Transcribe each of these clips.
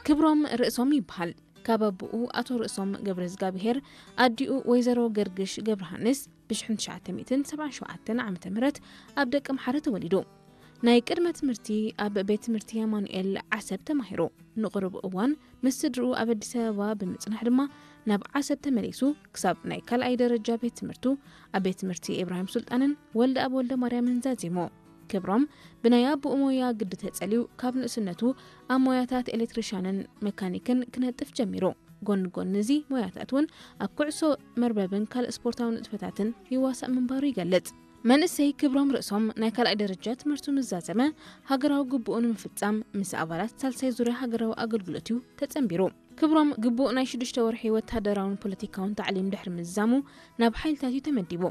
ክብሮም ርእሶም ይበሃል። ካብ ኣቦኡ ኣቶ ርእሶም ገብረዝጋብሄር ኣዲኡ ወይዘሮ ገርግሽ ገብረሃንስ ብ ትሽዓተ ሚእትን ሰብዓን ሸውዓተን ዓመተ ምህረት ኣብ ደቂ ኣምሓረ ተወሊዱ። ናይ ቅድመ ትምህርቲ ኣብ ቤት ትምህርቲ ኣማኑኤል ዓሰብ ተማሂሩ። ንቕሩብ እዋን ምስ ስድርኡ ኣብ ኣዲስ ኣበባ ብምጽናሕ ድማ ናብ ዓሰብ ተመሊሱ ክሳብ ናይ ካልኣይ ደረጃ ቤት ትምህርቱ ኣብ ቤት ትምህርቲ ኢብራሂም ሱልጣንን ወልደኣብ ወልደማርያምን ዛዚሙ። ክብሮም ብናይ ኣቦኡ ሞያ ግዲ ተጸልዩ ካብ ንእስነቱ ኣብ ሞያታት ኤሌክትሪሻንን መካኒክን ክነጥፍ ጀሚሩ። ጎኒ ጎኒ እዚ ሞያታት እውን ኣብ ኩዕሶ መርበብን ካልእ ስፖርታዊ ንጥፈታትን ይዋሳእ ምንባሩ ይገልጽ። መንእሰይ ክብሮም ርእሶም ናይ ካልኣይ ደረጃ ትምህርቱ ምስ ዛዘመ፣ ሃገራዊ ግቡኡ ንምፍጻም ምስ ኣባላት ሳልሳይ ዙርያ ሃገራዊ ኣገልግሎት እዩ ተጸንቢሩ። ክብሮም ግቡእ ናይ ሽዱሽተ ወርሒ ወተሃደራውን ፖለቲካውን ታዕሊም ድሕሪ ምዝዛሙ ናብ ሓይልታት እዩ ተመዲቡ።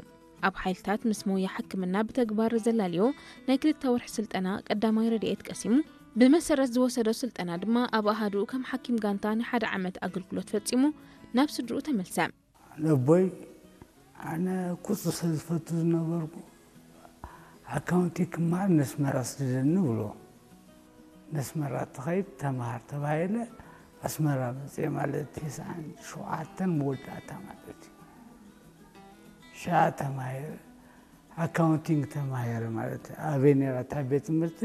ኣብ ሓይልታት ምስ ሞያ ሕክምና ብተግባር ዘላልዮ ናይ ክልተ ወርሒ ስልጠና ቀዳማይ ረድኤት ቀሲሙ። ብመሰረት ዝወሰዶ ስልጠና ድማ ኣብ ኣሃዱኡ ከም ሓኪም ጋንታ ናይ ሓደ ዓመት ኣገልግሎት ፈጺሙ ናብ ስድርኡ ተመልሰ። ነቦይ ኣነ ቁጽሪ ስለ ዝፈቱ ዝነበርኩ ኣካውንቲ ክመሃር ነስመራ ስደደኒ ብሎ። ነስመራ ትኸይድ ተምሃር ተባሂለ ኣስመራ መጽየ ማለት ተስዓን ሸውዓተን መወዳእታ ማለት እዩ። ሽዓ ተማሂረ ኣካውንቲንግ ተማሂረ ማለት ኣበይ ነይራ እታ ቤት ትምህርቲ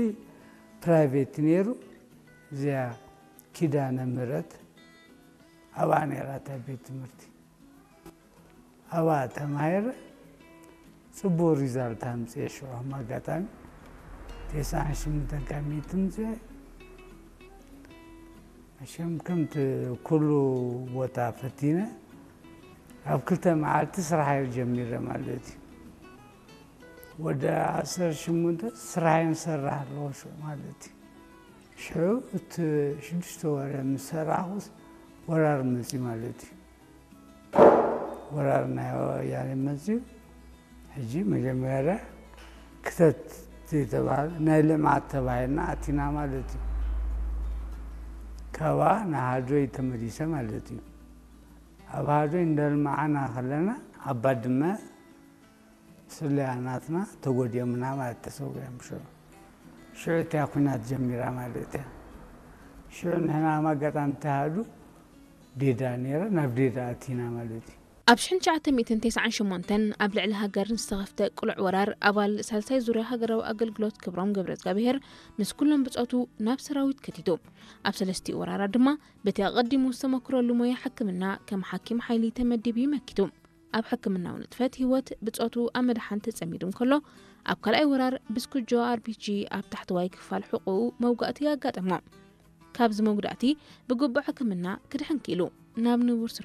ፕራይቬት ነይሩ። እዚኣ ኪዳነ ምህረት ኣብኣ ነይራ እታ ቤት ትምህርቲ። ኣብኣ ተማሂረ ጽቡቕ ሪዛልት ኣምጽኤ ሽዑ ከም ኣጋጣሚ ተስዓን ሽምንተን ካብ ሚእቲ ምጽኤ። መሸም ከምቲ ኩሉ ቦታ ፈቲነ ኣብ ክልተ መዓልቲ ስራሕ እየ ጀሚረ ማለት እዩ። ወደ ዓሰርተ ሽሙንተ ስራሕን ሰራሕ ኣለዎ ሽዑ ማለት እዩ። ሽዑ እቲ ሽዱሽተ ወረ ምስ ሰራሕኩስ ወራር መፅዩ ማለት እዩ። ወራር ናይ ወያኔ መፅዩ። ሕጂ መጀመርያ ክተት ዝተባህለ ናይ ልምዓት ተባሂልና ኣቲና ማለት እዩ። ካብኣ ንሃዶይ ተመሊሰ ማለት እዩ። ኣብ ሃዶይ እንዳልማዓና ከለና ኣብ ባድመ ስለያ ናትና ተጎዲኦምና ማለት ተሰዊኦም ሽዑ። ሽዑ እቲያ ኩናት ጀሚራ ማለት እያ። ሽዑ ንሕና ኣብ ኣጋጣሚ ተሃዱ ዴዳ ነይረ ናብ ዴዳ ኣቲና ማለት እዩ። ኣብ ሽሕን ትሽዓተ ሚእትን ተስዓን ሸሞንተን ኣብ ልዕሊ ሃገር ንዝተኸፍተ ቅሉዕ ወራር ኣባል ሳልሳይ ዙርያ ሃገራዊ ኣገልግሎት ክብሮም ገብረዝጋብሄር ምስ ኩሎም ብጾቱ ናብ ሰራዊት ከቲቱ። ኣብ ሰለስቲኡ ወራራት ድማ በቲ ኣቐዲሙ ዝተመክረሉ ሞያ ሕክምና ከም ሓኪም ሓይሊ ተመዲቡ መኪቱ። ኣብ ሕክምናዊ ንጥፈት ህይወት ብጾቱ ኣብ ምድሓን ተጸሚዱ እንከሎ ኣብ ካልኣይ ወራር ብስኩጆ ኣርቢጂ ኣብ ታሕተዋይ ክፋል ሕቑኡ መውጋእቲ ኣጋጠሞ። ካብዚ መጉዳእቲ ብግቡእ ሕክምና ክድሕን ክኢሉ ናብ ንቡር ስርሑ